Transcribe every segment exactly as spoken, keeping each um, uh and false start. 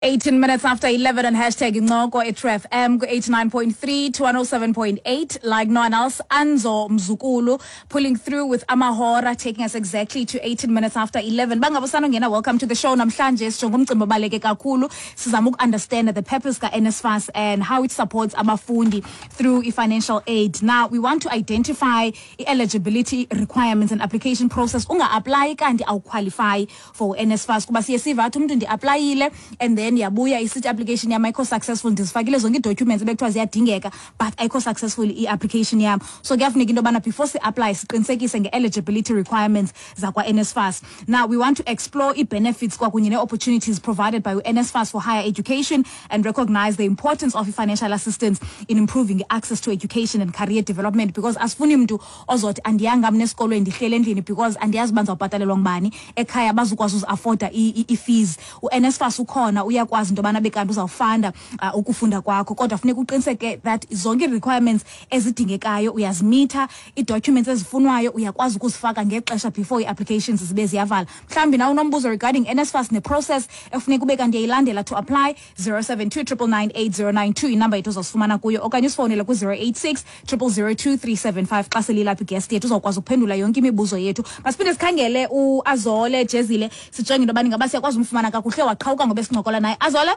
eighteen minutes after eleven on hashtag Incoko at True F M eighty-nine point three to one oh seven point eight, like no one else. Anzo Mzukulu pulling through with Amahora, taking us exactly to eighteen minutes after eleven. Bangabusano, welcome to the show. Namhlanje sijonge umcimbi obaluleke kakhulu, sizama uku-understand the purpose ka-N S F A S and how it supports abafundi through i-financial aid. Now we want to identify i-eligibility requirements and application process. Unga-apply kanti awuqualify for N S F A S, kuba siye siva athi umntu ndi-applyile and then yabuya isithi application yam ayikho successful, ndizifakile zonke ii-documents ebekuthiwa ziyadingeka, but ayikho successful i-application yam. So kuyafuneka into yobana before si-apply siqinisekise nge-eligibility requirements zakwa-N S F A S. Now we want to explore ii-benefits kwakunye nee-opportunities provided by U N S F A S for higher education and recognize the importance of i-financial assistance in improving access to education and career development, because asifuni mntu ozothi andiyanga mna esikolweni, ndihlele endlini because andiyazi uba ndizawubhatalelwa ngubani ekhaya, bazukwazi uziafforda i-fees. U-N S F A S ukhona, uyakwazi into yobana bekanti uzawufunda uh, ukufunda kwakho, kodwa funeka uqiniseke that zonke ii-requirements ezidingekayo uyazimitha, ii-documents ezifunwayo uyakwazi ukuzifaka ngexesha before ii-applications zibe ziyavala. Mhlawumbi nawe unombuzo regarding N S F A S neprocess efuneka ube kanti uyayilandela to apply. zero seven two nine nine nine eight zero nine two inamba yethu uzawusifumana kuyo, okanye usifowunele ku-zero eight six zero zero zero two three seven five. Xa selilapha iguest yethu, uzawukwazi ukuphendula yonke imibuzo yethu. Masiphinde sikhangele uAzole Jezile, sijonge into yobana ingaba siyakwazi umfumana kakuhle. Waqhawuka ngoba esincokola naye. Azole?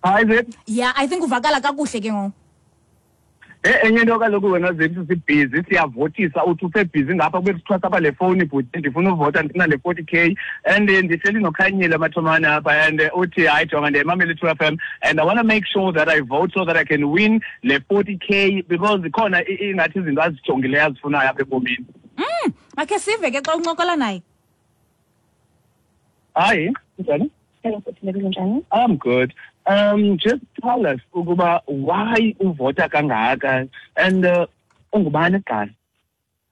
Hayi, Zip. Yeah, I think uvakala kakuhle ke ngoku. Eh enye into kaloku wena Zip, sibhizi siyavotisa, uthi usebhizi ngapha kube kuthiwa apha le fowuni, bhuti, ndifuna uvota, ndifuna le forty K, and eh, ndihleli noKhanyile Amathomane apha and eh, uthi hayi jonga, ndiyayimamela i-True F M and I want to make sure that I vote so that I can win le forty K, because khona i- ingathi izinto azijongileyo azifunayo apha ebomini. Makhe sive ke xa uncokola naye. Hayi, njani? Hello, futhi njani? I'm good. Um, just tell us ukuba why uvota kangaka and uh, ungubani kuqala?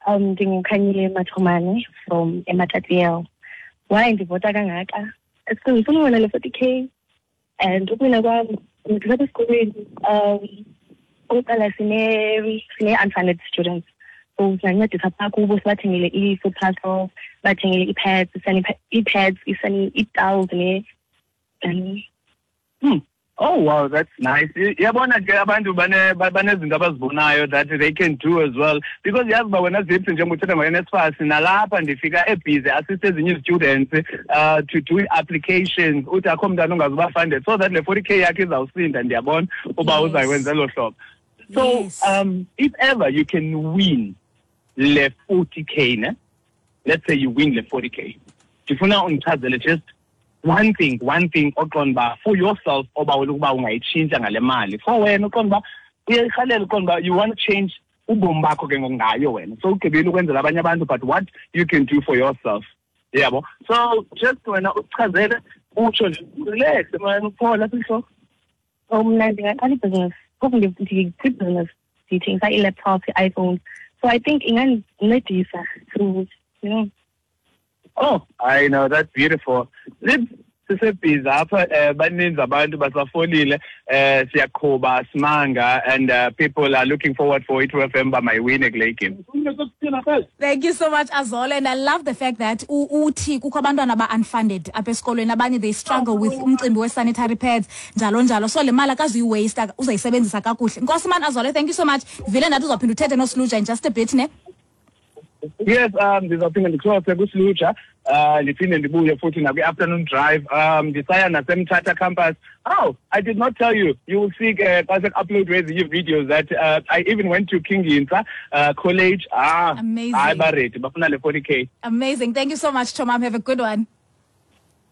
Um ndinguKhanyile Mathomane from eMatatiele. Why ndivota kangaka? It's because ngifuna uwina le forty K and ukuwina kwam ndilapha esikolweni, um okokuqala sine sine unfunded students. So singancedisa phaa kubo, sibathengele ii-food parcels, sibathengele ii-pads, ii-pads, ii-towels ne um Hmm. Oh wow, that's nice. Yabona ke abantu bane banezinto abazibonayo that they can do as well. Because yazi uba wena Zips, njengoba uthetha ngo-N S F A S, nalapha ndifika ebhizi assist ezinye students uh, to do applications, uthi akho mntana ongazuba funded so that le forty K yakhe izawusinda, ndiyabona uba Yes. uzayikwenza elo hlobo. So Yes. um if ever you can win le forty K, ne? Let's say you win le forty K. Ndifuna undichazele just one thing, one thing oqonda uba for yourself obawela ukuba ungayitshintsha ngale mali. For wena uqonda uba uyayirhalela, uqonda uba you want to change ubomi bakho ke ngoku ngayo wena. So ugqibile ukwenzela abanye abantu, but what you can do for yourself. Yabo. So just wena uchazele, utsho nje, relax man, uphola apha entloko. So mna ndingaqala ibhizinesi, phofu ndikwibhizinesi ndithengisa ii-laptops, ii-iPhones, so I think ingandincedisa to you know Oh, I know, that's beautiful. Let's sisebhizi apha, eh baninzi abantu basafolile, eh siyaqhuba simanga and uh, people are looking forward for i-True F M ba mayiwine kule game. Thank you so much, Azole, and I love the fact that u- uthi kukho abantwana aba-unfunded apha esikolweni, abanye they struggle with umcimbi we-sanitary pads, njalo njalo, so le mali akazuyiwaste, uzayisebenzisa kakuhle. Nkosi man, Azole, thank you so much. Vile ndathi uzawuphinda uthethe noSluja in just a bit, ne? Yes, um ndizawuphinda ndicrosse kuSluja, uh ndiphinde ndibuye futhi nakwi-afternoon drive, um ndisaya naseMthatha campus. Oh, I did not tell you. You will see uh, xa sekuupload ezinye videos that uh, I even went to King Hintsa uh, College. Ah, Amazing. Hayi, baready, bafuna le forty K. Amazing. Thank you so much, Chomam. Have a good one.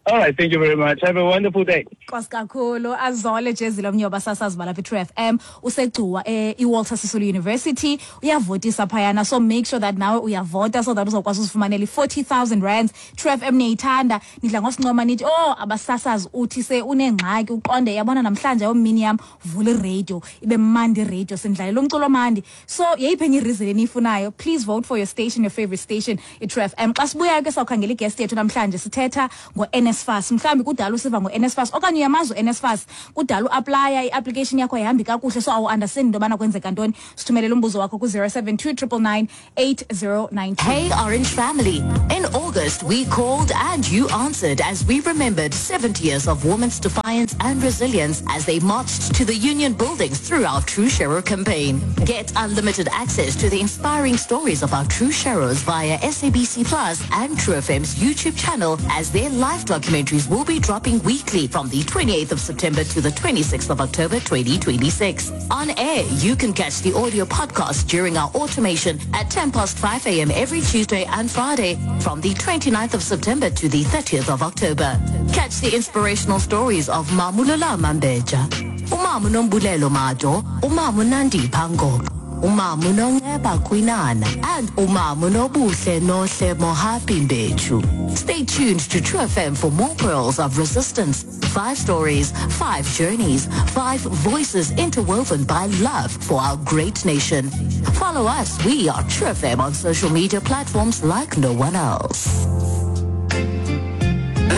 All right, thank you very much. Have a wonderful day. Nkosi kakhulu, Azole Jezile, omnye wabasasazi balapha i-True F M, useGcuwa eh, iWalter Sisulu University, uyavotisa phayana, so make sure that nawe uyavota so that uzawukwazi uzifumanela i-forty thousand rands. True F M niyayithanda, nidla ngosincoma nithi oh, abasasazi, uthi se unengxaki uqonde yabona namhlanje ayomini yam, vula iradio ibe mandi, iradio sindlalela umculo omandi. So yeyiphi enye ireason eniyifunayo? Please vote for your station, your favorite station, i-True F M. Xa sibuyayo ke sawukhangela iguest yethu namhlanje, sithetha ngo-N S N S F A S. Mhlawumbi kudala usiva ngo-N S F A S okanye uyamazi u-N S F A S, kudala uaplaya, i-application yakho ayihambi kakuhle, so awu-understand into yobana kwenzeka ntoni. Sithumelele umbuzo wakho ku-zero seven two triple nine eight zero nine two. Hey, Orange family. In August, we called and you answered as we remembered seventy years of women's defiance and resilience as they marched to the union buildings through our True Sharer campaign. Get unlimited access to the inspiring stories of our True Sharers via S A B C Plus and True F M's YouTube channel, as their live documentaries will be dropping weekly from the twenty-eighth of September to the twenty-sixth of October twenty twenty-six. On air, you can catch the audio podcast during our automation at ten past five a m every Tuesday and Friday from the 29th of September to the thirtieth of October. Catch the inspirational stories of Mamulula Mambeja, Umamu Nombulelo Mado, Umamu Nandi Pango, Umamu Nonceba Kwinana, and Umamu Nobuhle Nohle Mohapi Mbechu. Stay tuned to True F M for more pearls of resistance. Five stories, five journeys, five voices interwoven by love for our great nation. Follow us. We are True F M on social media platforms like no one else.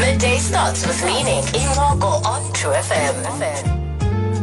Midday starts with meaning. Incoko on True F M.